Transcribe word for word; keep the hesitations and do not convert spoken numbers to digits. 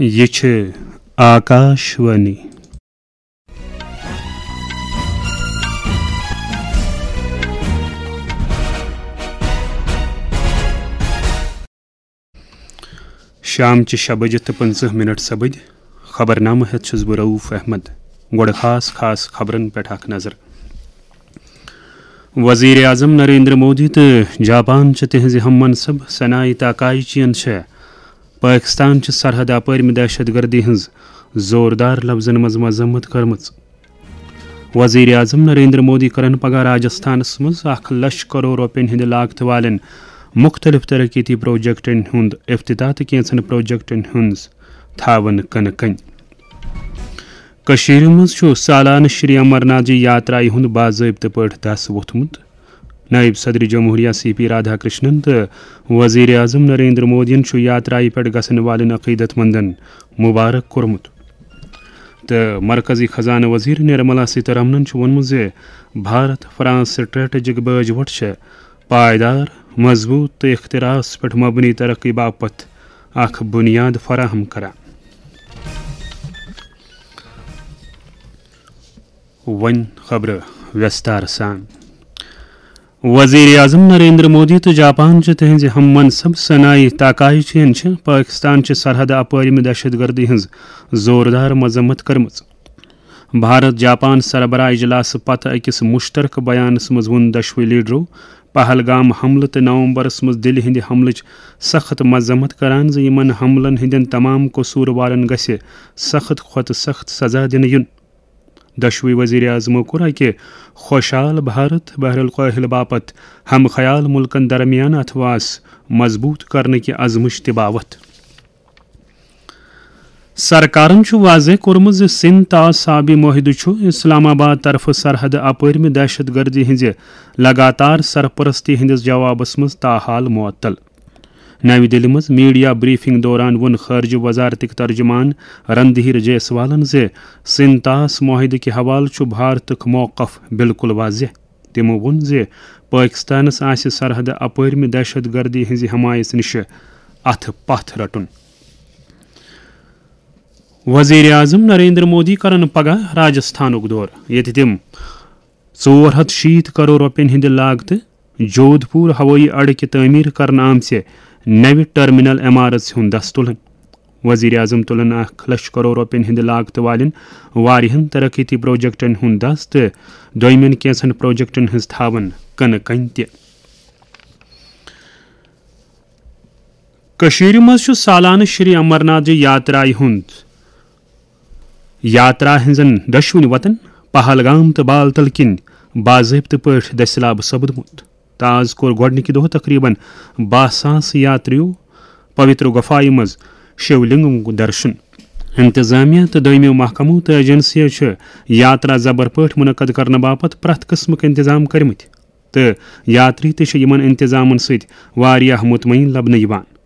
یہِ چھِ آکاش وانی۔ شام چہِ شےٚ بجہِ تہٕ پٕنٛژٕہ منٹ سپٕدۍ۔ خبرنامہٕ ہٮ۪تھ چھُس بہٕ رؤف احمد۔ گۄڈٕ خاص خاص خبرن پٮ۪ٹھ اکھ نظر۔ وزیر اعظم نریندر مودی تہٕ جاپان چہِ تِہنٛزِ ہم منصب سنائی تاکائیچیَن چھےٚ پٲکستان چہِ سرحد اپٲرمہِ دہشت گردی ہٕنٛز زوردار لفظن منٛز مذمت کٔرمٕژ۔ وزیر اعظم نریندر مودی کرن پگاہ راجستھانس منٛز اکھ لچھ کرور رۄپین ہٕنٛدِ لاگتہٕ والٮ۪ن مُختٔلِف ترقیتی پروجیکٹن ہُنٛد افتتاح تہٕ کینٛژن پروجیکٹن ہٕنٛز تھاوَن کٕنہٕ کٔنۍ۔ کٔشیٖرِ منٛز چھُ سالانہٕ شری امرناتھ جی یاترایہِ ہُنٛد باضٲبطہٕ پٲٹھۍ دَس ووٚتھمُت۔ نائب صدر جمہوریہ سی پی رادھا کرشنن تہٕ وزیر اعظم نریندر مودیَن چھُ یاترایہِ پٮ۪ٹھ گژھن والٮ۪ن عقیدت مندن مبارک کوٚرمُت۔ تہٕ مرکزی خزانہٕ وزیر نرملا سیتارمنن چھُ ووٚنمُت زِ بھارت فرانس سٹریٹجک باج وۄٹھ چھےٚ پائیدار، مضبوط تہٕ اختراعس پٮ۪ٹھ مبنی ترقی باپتھ اکھ بنیاد فراہم کران۔ وۄنۍ خبرٕ ویستار سان۔ وزیر اعظم نریندر مودی تہٕ جاپان چہِ تِہنٛزِ ہم منصب سنائی تاکائیچیَن چھِ پٲکستان چہِ سرحدٕ اپٲرمہِ دہشت گردی ہٕنٛز زوردار مذمت کٔرمٕژ۔ بھارت جاپان سربراہ اجلاسہٕ پتہٕ أکِس مشترکہٕ بیانس منٛز ووٚن دۄشوٕے لیڈرو پہلگام حملہٕ تہٕ نومبرس منٛز دِلہِ ہٕنٛدِ حملٕچ سخت مذمت کران زِ یِمن حملن ہٕنٛدٮ۪ن تمام قصوٗروارن گژھِ سخت کھۄتہٕ سخت سزا دِنہٕ یُن۔ دۄشوٕے وزیر اعظمو کوٚر اکہِ خوشحال بھارت بحر الکاہل باپتھ ہم خیال ملکن درمیان اتھواس مضبوط کرنہٕ کہِ عزمٕچ تہِ باوتھ۔ سرکارن چھُ واضح کوٚرمُت زِ سندھ طاس آبی معاہدٕ چھُ اسلام آباد طرفہٕ سرحدٕ اپٲرمہِ دہشت گردی ہٕنٛزِ لگاتار سرپرستی ہٕنٛدِس جوابس منٛز تاحال معطل۔ نَوِ دِلہِ منٛز میڈیا بریفنگ دوران ووٚن خارجہ وزارتٕکۍ ترجمان رندھیر جیسوالن زِ سندھ طاس معاہدٕ کہِ حوالہٕ چھُ بھارتُک موقف بالکل واضح۔ تِمو ووٚن زِ پٲکستانس آسہِ سرحدٕ اپٲرمہِ دہشت گردی ہٕنٛزِ حمایژ نِشہِ اتھٕ پتھ رٹُن۔ وزیر اعظم نریندر مودی کرن پگاہ راجستھانُک دورٕ، ییٚتہِ تِم ژور ہتھ شیٖتھ کرور رۄپین ہٕنٛدِ لاگتہٕ جودھ پور ہوٲیی اڈٕ کہِ تعمیٖر کرنہٕ آمژِ نَوِ ٹرمینل عمارژ ہُنٛد دَس تُلن۔ وزیر اعظم تُلن اکھ لچھ کرور رۄپین ہٕنٛدِ لاگتہٕ والٮ۪ن واریاہن ترقیتی پروجیکٹن ہُنٛد دَس تہٕ دوٚیمٮ۪ن کینٛژن پروجیکٹن ہٕنٛز تھاوَن کٕنہٕ کَنہِ تہِ۔ کٔشیٖرِ منٛز چھُ سالانہٕ شری امرناتھ جی یاترایہِ ہُنٛد یاترا ہٕنٛزن دۄشوٕنی وتن پہلگام تہٕ بالتل کِنۍ باضٲبطہٕ پٲٹھۍ دٔسِلاب سپُدمُت۔ تہٕ آز کوٚر گۄڈٕنِکہِ دۄہ تقریباً باہ ساس یاتریو پویتر گفایہِ منٛز شیو لنگمُک درشن۔ انتظامیہ تہٕ دوٚیمِیو محکمو تہٕ ایجنسیو چھِ یاترا زبر پٲٹھۍ منعقد کرنہٕ باپتھ پرٛٮ۪تھ قٕسمٕک انتظام کٔرمٕتۍ۔ تہٕ یاتری تہِ چھِ یِمن انتظامن سۭتۍ واریاہ مطمئن لبنہٕ یِوان۔